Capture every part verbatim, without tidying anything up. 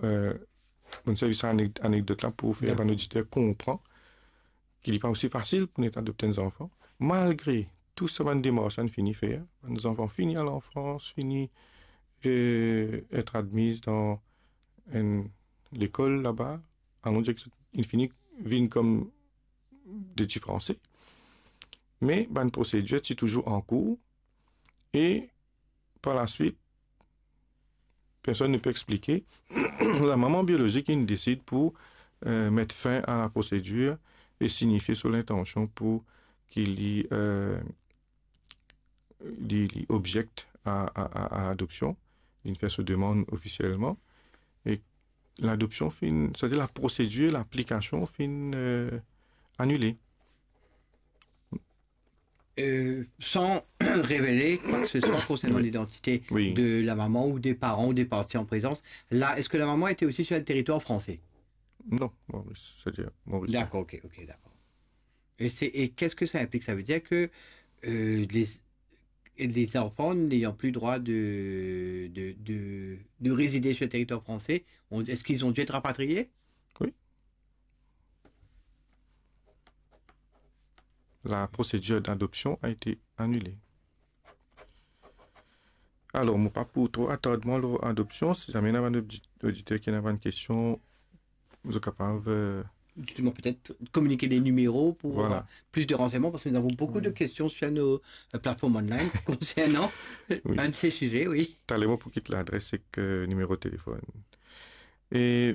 eh, mo'nn servi sa anek-, anekdot la pou fer bann oditer konpran ki li pa osi fasil pou nou adopte enn zanfan, malgre tou sa bann demars la inn fini fer, bann zanfan fini al an Frans, fini, eh, et admiz dan enn lekol laba, alon dir ki inn fini vinn kom de ti Franse. Me bann prosedir ti touzour an kour e par laswit, personn ne pe explike, lamama biolozik inn desid pou, eh, met fin a la prosedir e signifie so lintansion pou ki li, eh, li, li objekt a, a, a, a ladopsion. Li fer so demann ofisielman. E ladopsion finn, setadir la prosedir, laplikasion finn, eh, anile. Euh, sans révéler quoi que ce soit concernant l'identité de la maman ou des parents ou des parties en présence. Là, est-ce que la maman était aussi sur le territoire français ? Non, Maurice, c'est-à-dire Maurice. D'accord, ok, ok, d'accord. Et, c'est, et qu'est-ce que ça implique ? Ça veut dire que euh, les, les enfants n'ayant plus droit de, de, de, de résider sur le territoire français, on, est-ce qu'ils ont dû être rapatriés ? Oui. La prosedir d'adopsion a été annulée. Alor, mo pa pou tro atard mwa lor adopsion. Si zame ena bann oditer ki ena bann kestion, zot kapav, euh, Justement, peut-être communiquer des numéros pour avoir plus de renseignements, parce que nous avons beaucoup de questions sur nos euh, plateformes online concernant un de ces sujets, oui. Taler mo pou kit ladres ek, euh, nimero telefonn. E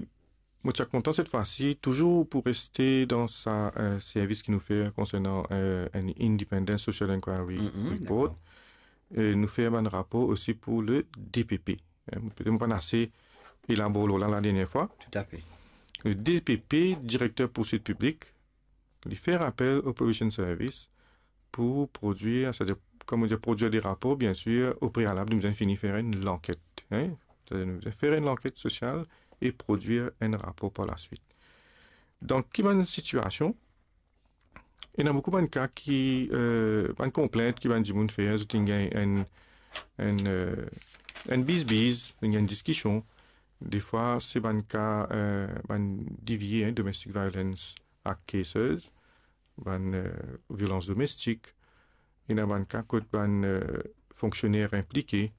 mo ti a kontan set fwa si, touzour pou reste dan sa, euh, servis ki nou fer konsernan, euh, enn Independent Social Inquiry Report, euh, nou fer bann rapor osi pou le D P P. Hein, petet mo pa'nn ase elabor lor la, la dernie fwa. Tout à fait. Le D P P, Directeur Poursuite Publique, li fer apel o Probation Service pou prodwir, c'est-à-dire, kouma dir, prodwir de rapor, bien sir, o prealab, nou bizin fini fer enn lanket. Hein? C'est-à-dire, nou bizin fer enn lanket sosial e prodwir enn rapor par laswit. Dan ki bann sitiasion, ena boukou bann ka ki, euh, bann konplint ki bann dimoun fer, zot inn gagn enn, enn, euh, enn bizbiz, inn gagn enn diskision. Defwa, se bann ka, euh, bann D V A, hein, Domestic Violence Act cases, bann, euh, violans domestik. Ena bann ka kot bann, euh, fonksioner inplike.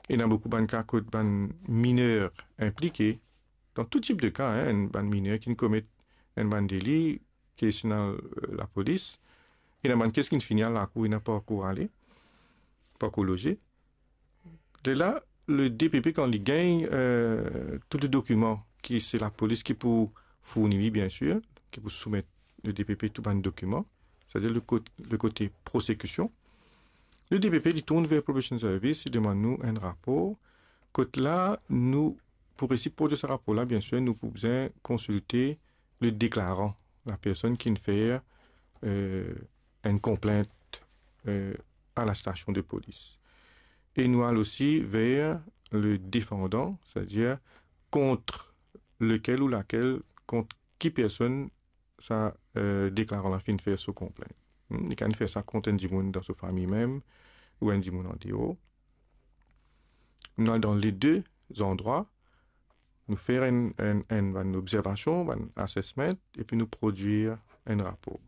Ena boukou bann ka kot bann miner inplike. Dan tou tip de ka, hein, enn bann miner ki'nn komet enn bann deli, kes inn al, euh, lapolis. Ena bann kes ki'nn fini al lakour, ena pa ankor ale, pa ankor loze. Lerla, le D P P, kan li gagn, euh, tou le dokiman ki se lapolis ki pou fourni li, bien sir, ki pou soumet le D P P tou bann dokiman, c'est-à-dire le kot-, le kote prosekision, le D P P, li tourn ver Probation Service, li demann nou enn rapor. Kot la, nou, pou resi prodwir sa rapor la, bien sir, nou pou bizin konsilte le deklaran, la personn ki'nn fer, euh, enn konplint, euh, a la stasion de polis. E nou al osi ver le defandan, c'est-à-dire kont lekel ou lakel, kont ki personn sa, euh, deklaran la finn fer so konplint. Hmm, li kapav fer sa kont enn dimoun dan so fami mem, ou enn dimoun andeor. Nou al dan le de zandrwa, nou fer enn, enn, enn, bann obzervasion, bann assessment, epi nou prodwir enn rapor.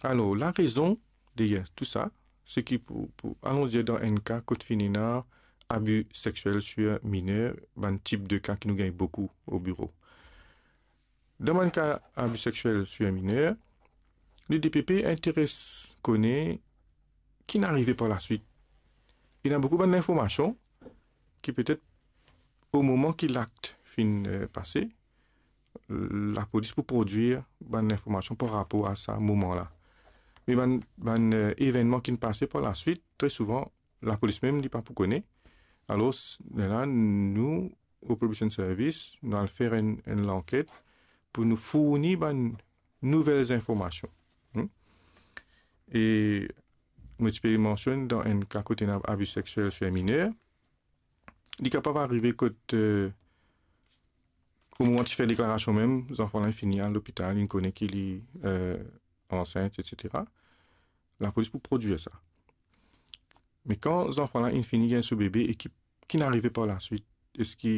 Alor, larezon deryer tou sa, se ki pou, pou, alon dir, dan enn ka kot finn ena abi seksiel sir miner, bann tip de ka ki nou gagn boukou o biro. Dan bann ka abi seksiel sir miner, le D P P interes kone ki'nn arive par laswit. Ena boukou bann linformasion ki petet o moman ki lakt finn, euh, pase, lapolis pou prodwir bann linformasion par rapor a sa moman la. Me bann, bann, euh, evennman ki'nn pase par laswit, tre souvan, lapolis mem, li pa pou kone. Alor, s-, lerla, nou, o Probation Service, nou al fer enn, enn lanket pou nou fourni bann nouvel zinformasion. Hmm? E mo ti pe mansionn dan enn ka kot ena abi seksiel sir miner, li kapav arive kot, euh, o moman ti fer deklarasion mem, zanfan la fini al lopital, li kone ki li, euh, ansint, et cetera. Lapolis pou prodwir sa. Me kan zanfan la inn fini gagn so bebe e ki, ki'nn arive par laswit, eski